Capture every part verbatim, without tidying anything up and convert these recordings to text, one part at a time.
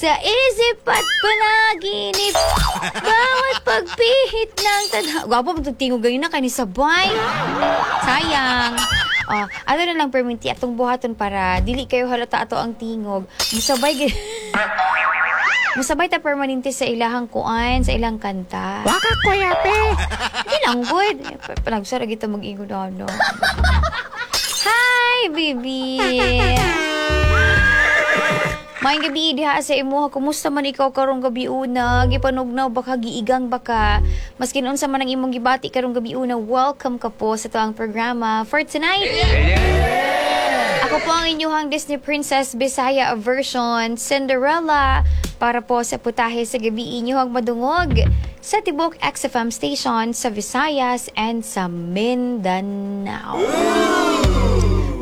Sa isip at panaginip, bawat pagpihit ng tadhana. Gwapo mo tingog ganyan na kay ni sabay. Sayang. Oh, ano na lang perminti atong buhaton para dili kayo halata ato ang tingog. Musabay gi- Musabay ta permanente sa ilahang kuan, sa ilang kanta. Waka kuya pe. Hindi lang good. Panagsara kita mag-ingon ano. Hi, baby! Maayong gabi diha sa imuha. Kumusta man ikaw karong gabi una? Gipanugnaw baka giigang baka. Maskin unsa man ang imong gibati karong gabi una, welcome ka po sa tuang programa for tonight. Ako po ang inyuhang Disney Princess Bisaya version Cinderella para po sa putahe sa gabi inyuhang madungog sa Tibok X F M station sa Visayas and sa Mindanao.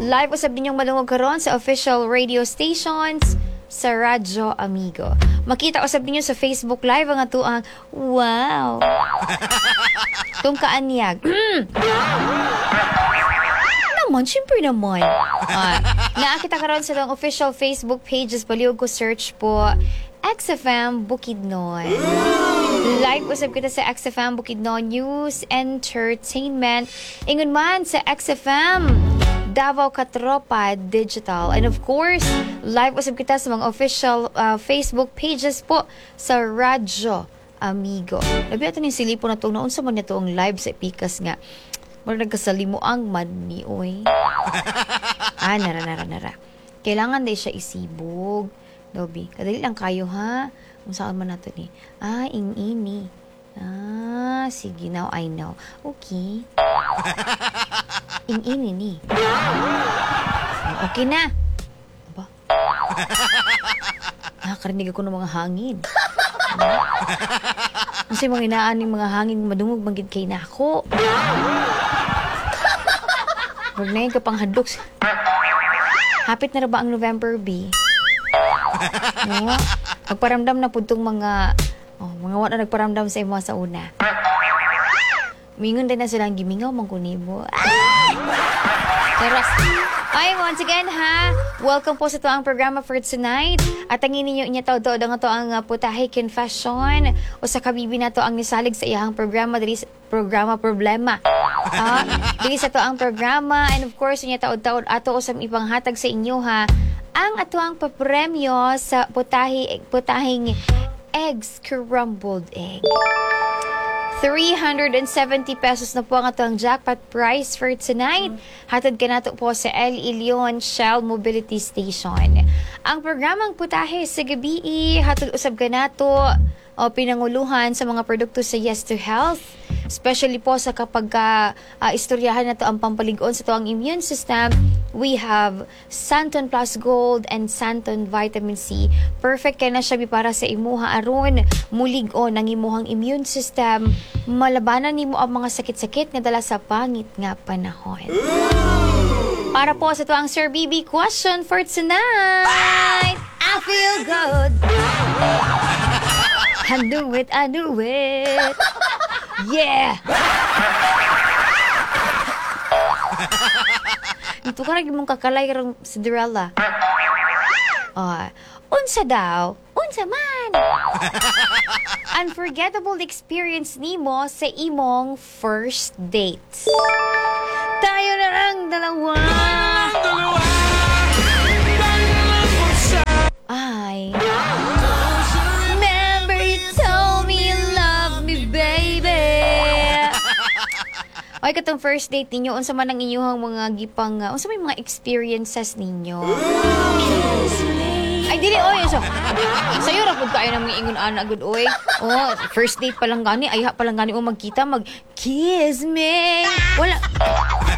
Live usab ninyong madungog karon sa official radio stations sa Radyo Amigo. Makita usab ninyo sa Facebook Live ang atuang wow. Tung kaanyag. Mm. Naman, syempre naman. Ah, naakita karon sa itong official Facebook pages. Palihog ko search po X F M Bukidnon. Live usab kita sa X F M Bukidnon News Entertainment. Ingon man sa X F M Davao Katropa Digital. And of course, live usab kita sa mga official uh, Facebook pages po sa Radyo Amigo. Labi ato ning silipon na itong naunsa man niya ang live sa Pikas nga. Mura nagkasalimuang man ni oy. Ah, nara, nara, nara. Kailangan day siya isibog. Dobi, kadali lang kayo ha. Kung saan man nato ni. Ah, ing-ini. Ah, sige, now I know. Okay. Ing-ini ni. Okay na. Aba. Nakakarinig ako ng mga hangin. Kasi mga inaan ng mga hangin madungog magid kay nako. Huwag na yun ka pang hadlok. Hapit na ra ba ang November B? No? Magparamdam na pud tong mga oh, mga wala nagparamdam sa imo sa una. Mingon din na silang gimingaw man ko nimo. Ah! Charos. Ay, once again ha, welcome po sa to ang programa for tonight. At ang ninyo inya taud-taud ang ato ang uh, Putahe Confession o sa kabibi na to ang nisalig sa iyang programa diri sa programa problema. Ah, diri sa to ang programa and of course inya taud-taud ato usab ipanghatag sa inyo ha ang ato ang papremyo sa putahe putahing eggs scrambled egg. three hundred seventy pesos na po ang atong jackpot prize for tonight. Hatod ka nato po sa El Ilion Shell Mobility Station. Ang programang Putahe sa Gabi, hatod usab ka nato o pinanguluhan sa mga produkto sa Yes to Health. Especially po sa kapag ka, ah, istoryahan na to ang pampaligon sa to ang immune system, we have Santon Plus Gold and Santon Vitamin C. Perfect kay na siya bi para sa imuha aron mulig-on ang imuhang immune system, malabanan nimo ang mga sakit-sakit nga dala sa pangit nga panahon. Para po sa to ang Sir B B question for tonight. I feel good. I knew it, I knew it. Yeah! Ito ka lagi mong kakalay karong Cinderella. Oh, unsa daw? Unsa man? Unforgettable experience nimo sa imong first date. Tayo na ang dalawa. Ay. Remember you told me you love me, baby. Oy, katong first date ninyo, unsa man ang inyong mga gipang, uh, unsa may mga experiences ninyo? Ay, dili, oy. So, sayo ra pud kayo nang ingon ana gud, oy. Oh, first date pa lang gani, ayha pa lang gani mo magkita, mag kiss me. Wala.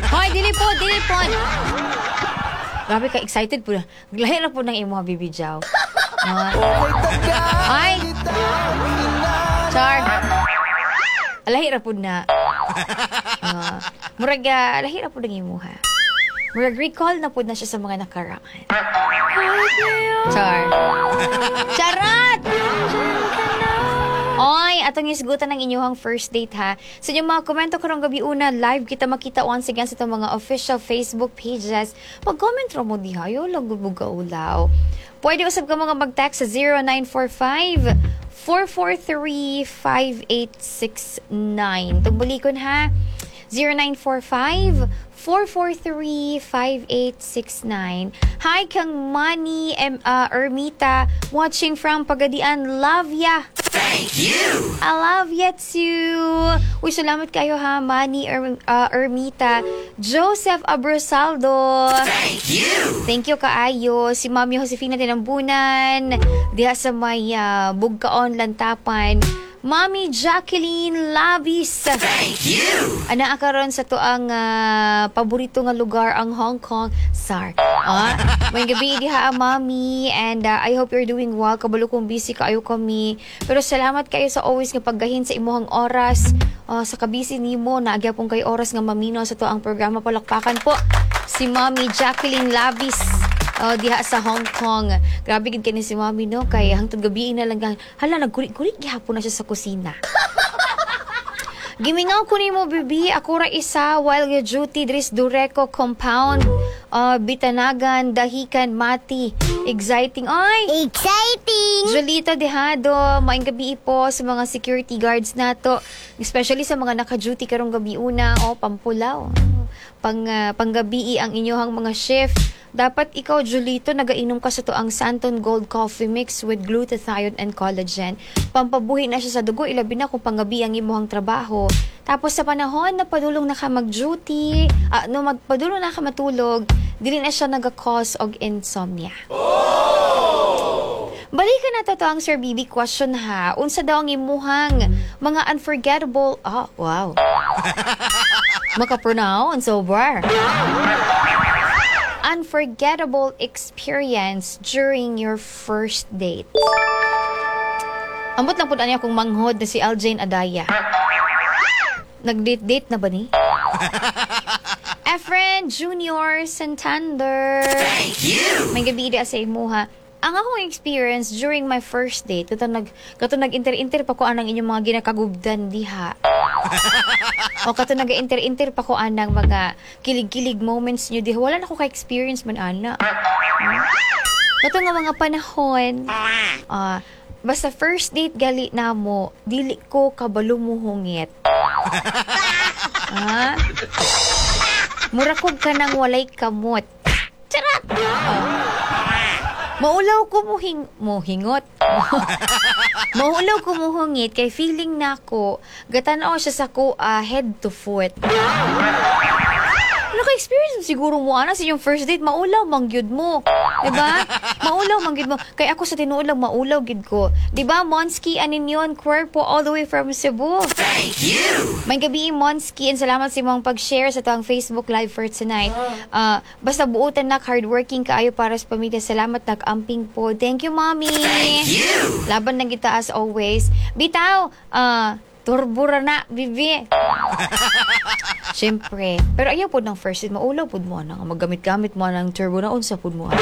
Hoy, dili po, dili po. Grabe ka excited po. Lahi ra po ng imo baby Jaw. Oh. Ay. Char. Lahi ra pud na. Uh, murag uh, lahi ra pud ang imuha. Murag recall na pud na siya sa mga nakaraan. Char. Charot! Oy, atong isgutan ng inyong first date ha. Sa inyong mga komento karong gabi una, live kita makita once again sa itong mga official Facebook pages. Pag-comment ra mo diha, yo lang gud ulaw. Pwede usab ka mga mag-text sa zero nine four five four four three, five eight six nine. Tugbulikon ha. zero nine four five, four four three, five eight six nine. Hi kang Manny M, uh, Ermita, watching from Pagadian. Love ya! Thank you. I love ya too. Uy, salamat kayo ha, Manny er, uh, Ermita. Joseph Abrosaldo. Thank you. Thank you kaayo. Si Mami Josefina Tinambunan. Diha sa may uh, Bugkaon, Lantapan. Mami Jacqueline Labis. Thank you. Ana karon sa tuang ah, paborito nga lugar, ang Hong Kong. Sar. Ah, maayong gabii diha, Mami, and ah, I hope you're doing well. Kabalo kong busy kaayo kami. Pero salamat kayo sa always nga paggahin sa imuhang oras. Ah, sa kabisi nimo naa gyapon kay oras nga mamino sa tuang programa. Palakpakan po si Mami Jacqueline Labis. Oh, diha sa Hong Kong. Grabe gid kani si Mami, no, kay hangtod gabi na lang, hala, nagkuri-kuri gihapon na siya sa kusina. Gimingaw ko nimo, bibi. Ako ra isa while duty dris Dureco Compound. Uh, Bitanagan, Dahican, Mati. Exciting. Ay! Exciting! Jolito Dejado, maayong gabi po sa mga security guards nato, especially sa mga naka-duty karong gabi una o pampulaw. Pang uh, panggabii ang inyong mga shift. Dapat ikaw, Julito, nagainom ka sa tuang Santon Gold Coffee Mix with glutathione and collagen. Pampabuhi na siya sa dugo, ilabi na kung panggabi ang imuhang trabaho. Tapos sa panahon na padulong na ka mag-duty, ah, no, magpadulong na ka matulog, dili na siya naga-cause og insomnia. Balikan na to ang Sir B B question ha. Unsa daw ang imuhang mga unforgettable. Ah, wow. Maka-pronounce over. Unforgettable experience during your first date. Ambot lang po niya kung manghod na si Aljane Adaya. Nag-date-date na ba ni? Efren Junior Santander. Thank you. Maayong gabii sa imuha. Ang akong experience during my first date, kato nag kato nag-inter-inter pa ko anang inyong mga ginakagubdan diha. O kato nag-inter-inter pa ko anang mga kilig-kilig moments nyo diha. Wala na ko ka-experience man ana. Kato nga mga panahon, ah, basta first date gali na mo, dili ko kabalo muhungit. Ah? Mura kog kanang walay kamot. Charot! Oh. Maulaw ko muhing muhingot. Maulaw ko muhungit kay feeling nako gatan-aw siya sa ko ah, head to foot. Naka-experience siguro mo ana sa inyong first date, maulaw man gyud mo. 'Di ba? Maulaw man gyud mo. Kay ako sa tinuod lang, maulaw gyud ko. 'Di ba? Monski Aninyon Cuerpo all the way from Cebu. Thank you. Maayong gabii, Monski, and salamat sa imong pag-share sa tuang Facebook Live for tonight. Ah, basta buutan nak, hardworking kaayo para sa pamilya. Salamat, nag-amping po. Thank you, Mommy. Thank you. Laban na kita as always. Bitaw, ah, turbo ra na, bibi. Siyempre. Pero ayaw po ng first date, maulaw po mo ana. Maggamit-gamit mo ng turbo na, unsa po mo ana.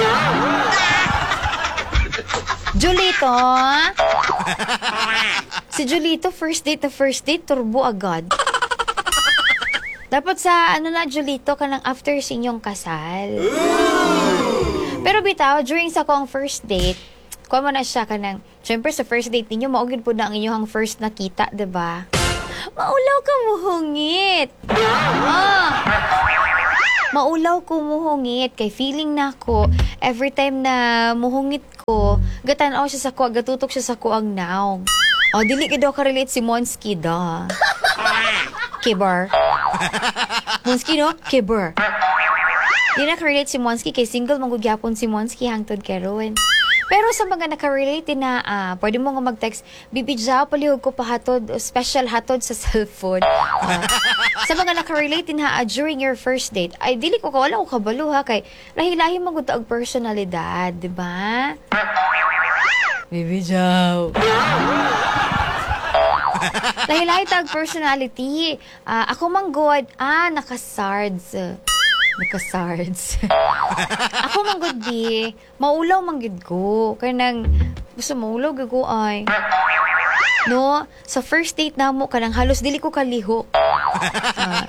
Julito! Si Julito, first date na first date, turbo agad. Dapat sa ano na, Julito, kanang after sa inyong kasal. Pero bitaw, during sa akong first date, kuha mo na siya kanang, syempre sa first date ninyo, mao gyud po na ang inyong first nakita, 'di ba? Maulaw ka muhungit. Ah. Maulaw ko muhungit kay feeling nako every time na muhungit ko, gatan-aw siya sa ko, gatutok siya sa ko ang naong. Oh, dili gid daw ka-relate si Monski da. Kibar. Monski, no? Kibar. Di na-relate si Monski kay single man gud gyapon si Monski hangtod karon. Pero sa mga nakarelate na, ah, pwede mo nga mag-text, "Bibi Jao, palihog ko pahatod, special hatod sa cellphone." Ah, sa mga nakarelate na ah, during your first date, ay dili ko wala ko kabalo ha, kay lahi-lahi man gud og personalidad, di ba? Bibi Jao. Lahi-lahi tag personality. Ah, ako man god, ah, naka-sards. Naka-sards. Ako man gud bi, maulaw man gud ko. Kay nang gusto maulaw gud ko ay. No, sa first date namo kanang halos dili ko kalihok. Ah.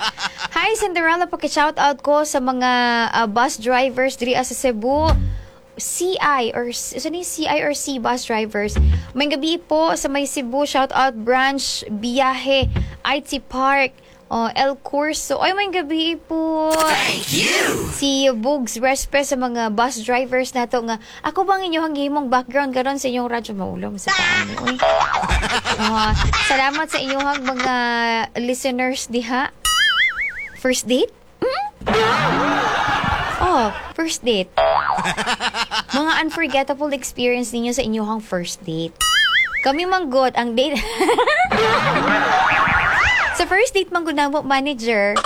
Hi Cinderella, paki-shout out ko sa mga ah, bus drivers diri sa Cebu. C I or sa ni C I or C bus drivers. Maayong gabii po sa may Cebu, shout out branch Biyahe I T Park. Oh, El Curso. Ay, maayong gabii po. Thank you. Si Bugs, respect sa mga bus drivers nato nga ako bang inyong gihimong background karon sa inyong radyo, maulom sa paano. Uy. Ah, salamat sa inyong mga listeners diha. First date? Hmm? Oh, first date. Mga unforgettable experience ninyo sa inyong first date. Kami manggod, ang date, sa first date manggod namo, manager.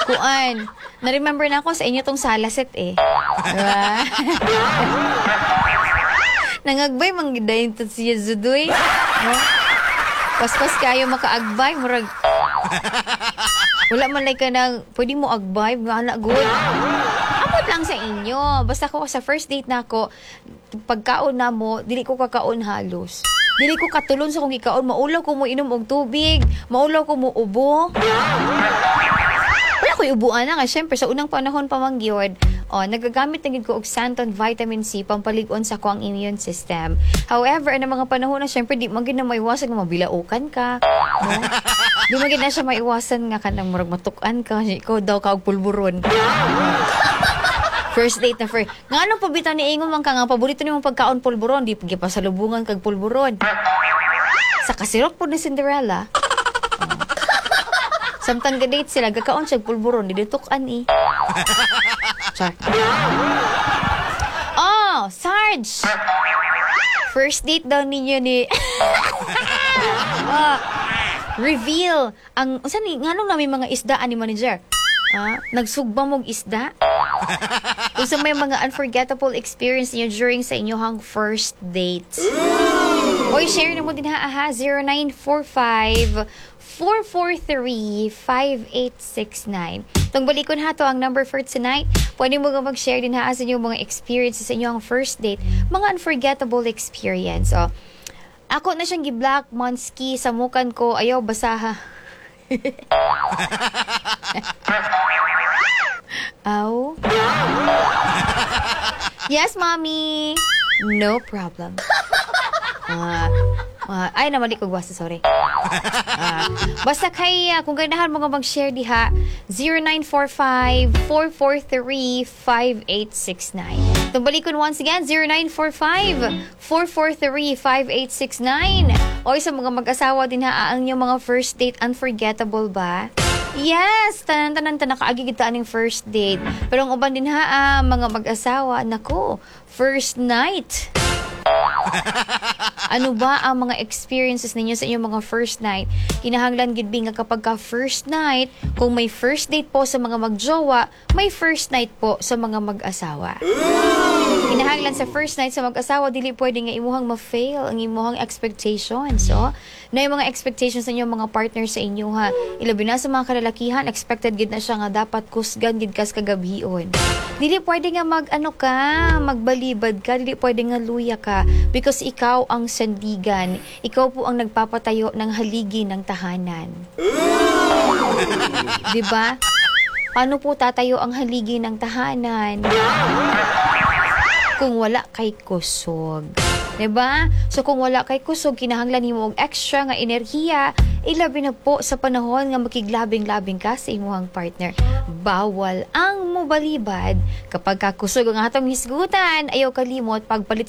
Kuan, na-remember na ako sa inyo tong salaset eh. Diba? Nangagbay man gid dayon to siya Zudoy. No? Paspas kayo makaagbay, murag wala man like ka nang pwede mo agbay, mga anak good. Amot lang sa inyo. Basta ko sa first date na ako, pagkaon na mo, dili ko kakaon halos. Dili ko katulon sa kong gikaon, maulaw ko mo inom og tubig, maulaw ko mo ubo. Wala ko'y ubuan na nga. Siyempre, sa unang panahon pa man gyud, oh, nagagamit na gid ko og Santon Vitamin C pampalig-on sa akong immune system. However, ang mga panahon na siyempre, di man gid na maiwasan nga mabilaukan ka. No? Di man gid na siya maiwasan nga kanang murag matuk-an ka. Ikaw daw ka og pulburon. First date na first. Nga anong pabita ni ingon man ka nga paborito nimo pagkaon pulburon, di gipasalubungan kag pulburon. Sa kasirok po ni Cinderella. Samtang ga-date sila, gakaon siya pulburon, di tuk-an eh. Char. Oh, Sarge! First date daw ninyo ni, ah, reveal ang unsa ni, nganong namin mga isda ani, manager? Ah, nagsugba mog isda? Unsa may mga unforgettable experience niyo during sa inyong first date? Oy, share na mo din ha, aha, zero nine four five four four three five eight six nine. Tong balikon ha to ang number for tonight. Pwede mo nga mag-share din ha sa inyong mga experiences sa inyong first date, mga unforgettable experience. Oh. Ako na siyang gi-block, Monski, samukan ko, ayaw basaha. Aw. Yes, Mommy. No problem. Ah, ah, ay, namali ko basta, sorry. Ah, basta kay, ah, kung ganahan mo nga mag-share diha, zero nine four five, four four three, five eight six nine. Itong balikon once again, zero nine four five, four four three, five eight six nine. O sa mga mag-asawa din ha, ang inyong mga first date, unforgettable ba? Yes, tanan-tanan ta nakaagi kita aning first date. Pero ang uban din ha, ah, mga mag-asawa, nako, first night. Ano ba ang mga experiences ninyo sa inyong mga first night? Kinahanglan gid nga kapag ka first night, kung may first date po sa mga magjowa, may first night po sa mga mag-asawa. Kinahanglan sa first night sa mag-asawa, dili pwede nga imuhang ma-fail ang imuhang expectations. So, na yung mga expectations sa inyong mga partner sa inyo ha. Ilabi na sa mga kalalakihan, expected gid na siya nga dapat kusgan gid kas kagabhion. Dili pwede nga mag ano ka, magbalibad ka, dili pwede nga luya ka because ikaw ang sandigan. Ikaw po ang nagpapatayo ng haligi ng tahanan. 'Di ba? Paano po tatayo ang haligi ng tahanan kung wala kay kusog? 'Di ba? So kung wala kay kusog, kinahanglan nimo og extra nga enerhiya, ilabi na po sa panahon nga makiglabing-labing ka sa imong partner. Bawal ang mobalibad kapag kakusog ang atong hisgutan, ayaw kalimot pagpalit.